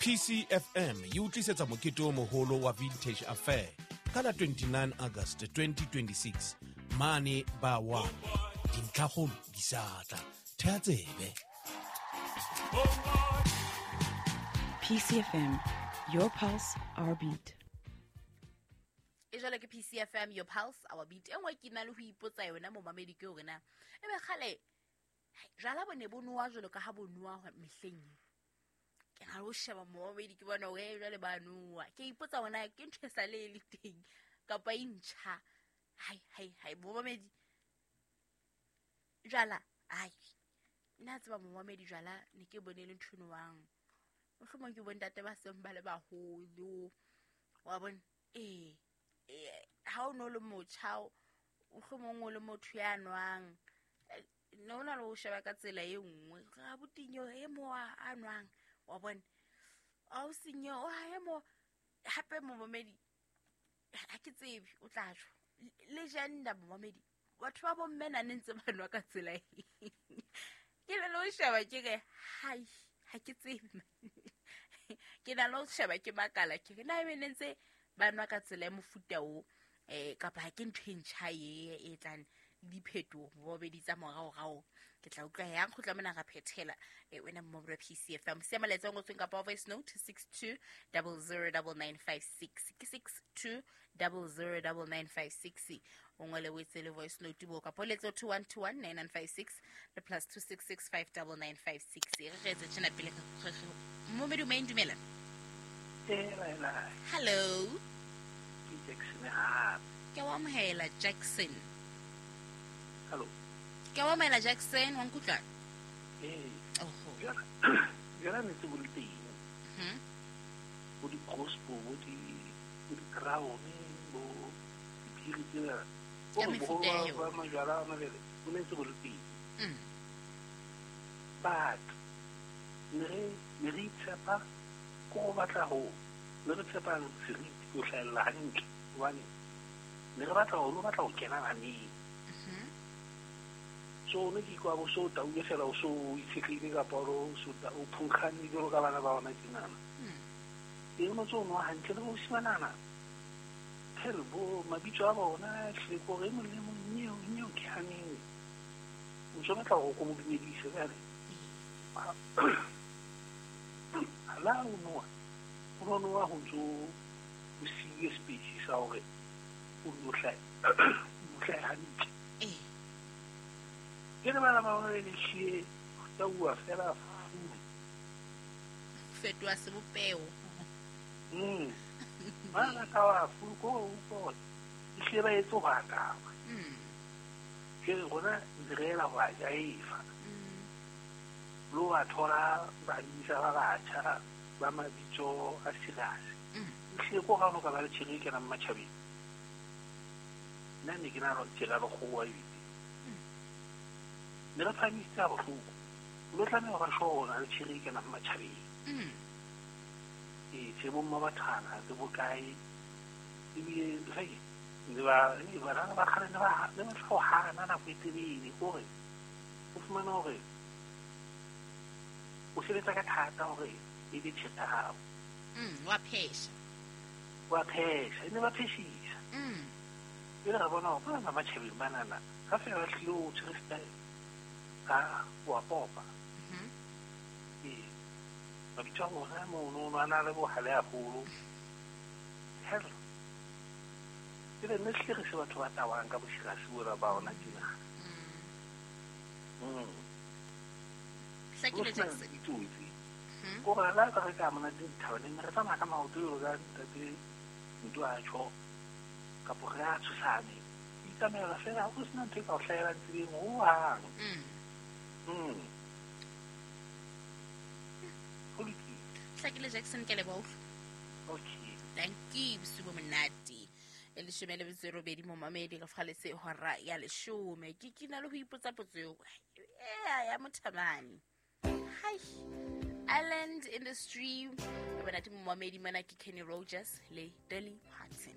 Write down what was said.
PCFM e o tlisetsa mokete o moholo wa Vintage Affair ka la 29 August 2026 mane ba 1. Dintlhakgolo di sa tla. Thea tsebe. PCFM, your pulse, our beat. E jwale ke PCFM, your pulse, our beat. E nngwe ke na le ho ipotsa yona, momamedi, ke hore na ebe kgale jwala bo ne bo nowa jwalo ka ha bo nowa mehleng e. Ke na le ho sheba, momamedi, ke bona hore jwale ba nowa. Ke ipotsa hona ke ntho e sa le e le teng kapa e ntjha. Hai hai hai, momamedi, jwala, ai, nna tseba, momamedi, jwala ne ke bone e le ntho e nowang mohlomong ke bontate ba seng ba le baholo, wa bona. Ee, ha o no le motjha, mohlomong o le motho ya nwang, ne o na le ho sheba ka tsela e nngwe ga botinyo e mo a nwang, wa bona, a o senyo e mo hape. Momamedi, ha ke tsebe o tla tjho le gender. Momamedi, batho ba bomme na ne ntse ba nwa ka tsela e ke le ho sheba, ke re hai, ha ke tsebe, ke na le ho sheba, ke makala, ke re na ebe ne ntse ba nwa ka tsela ya mofuta o kapa ha ke ntho e ntjha e e tlang le diphetoho bobedi tsa moraorao. Ke tla utlwa yang kgutla mona ra phethela. Wena momamedi wa PCFM, sia molaetsa o ngotsweng kapa voice note 62009956, ke 62009956. O ngwele, o etse le voice note bo, kapa o letse 21219956 le +266 59956. Re re etse tjena pele momamedi o maeng. Dumela. Hela hela. Hello. Ke Jackson hape. Ke wa amohela, Jackson. Hallo. Ke wa amohela, Jackson, wa nkutlwa? Ee. Oho. Jala ne tse bo le teng. Bo di-gospel, bo di-crown, bo diphiri tsena. Ka Bo mefuta ya boholo yona. ba majwala a mabele bo ne ntse bo le teng. But ne re itshepa ko go batla ho ne re tshepang seriti ho hlahella hantle hobane ne re batla ho no batla ho kena baneng. So ne ke ikwa bo so tauwe fela, o so itshetlehile kapa o so o phunkgane jwalo ka bana ba ona tjenana. Ee, o no tso nwa hantle le bosimanana hell, bo mabitso a bona ehlile ke hore e mong le mong nyeo nyeo ke haneng o ntso batla hore o ko mo dumedise. Jwale la o nowa, o no nowa ho ntso o siile space sa hore o nno hlahe hantle. Ke le bana ba bona le hlile tauwa fela fulu. Fetoha sebopeho. Bana ka wa fulu ko o utlwa hore ehlile ba etse ho atama. Jwale rona ntse re ela ho a jaefa. Le wa thola badisa ba batjha ba mabitso a serious. Ehlile ko ga o no ka ba le tjhere e kenang matjhabeng. Nna ne ke na le tjhere ya lekgowa ebile. Ne re phahamisitse ha bohloko. O lo tlameha ho ba sure hore o na le tjhere e kenang matjhabeng. Ee, tse bo mma bathwana tse bokae ebile hei, ne ba hei, banana ba kgale ne ba tla ho hana nako e telele kore o fumana hore o sebetsa ka thata hore e be tjhere ya hao. Wa phesha. Wa phesha, e ne ba pheshisa. Jwale ra bona hore bana ba matjhabeng banana ha fela ba tlile o tshwere style ka wa popa. Ee, mabitso a bona mono a na le bohale haholo. Hell, jwale nne hlile re se batho ba tawang ka bosirasi bona ba ona tjena. Hlakile, Ho sena Jackson. ditsotsi. Ko re la re ka monate dithabaneng, ne re tsamaya ka maoto jwalo ka ntate ntho a tjho kapo re a tshosane. Itsamaela fela ho sena ntho e ka o hlahelang tseleng hohang. Ho lokile. Hlakile, Jackson, ke a leboha utlwa. Okay. Thank you, bosiu bo monate. E 18 momamedi, re faletse hora ya 10. Ke na le ho ipotsa potso eo ea ya mothamane. Hai, Island in the Stream e bonate, momamedi. Mona ke Kenny Rogers le Dolly Parton.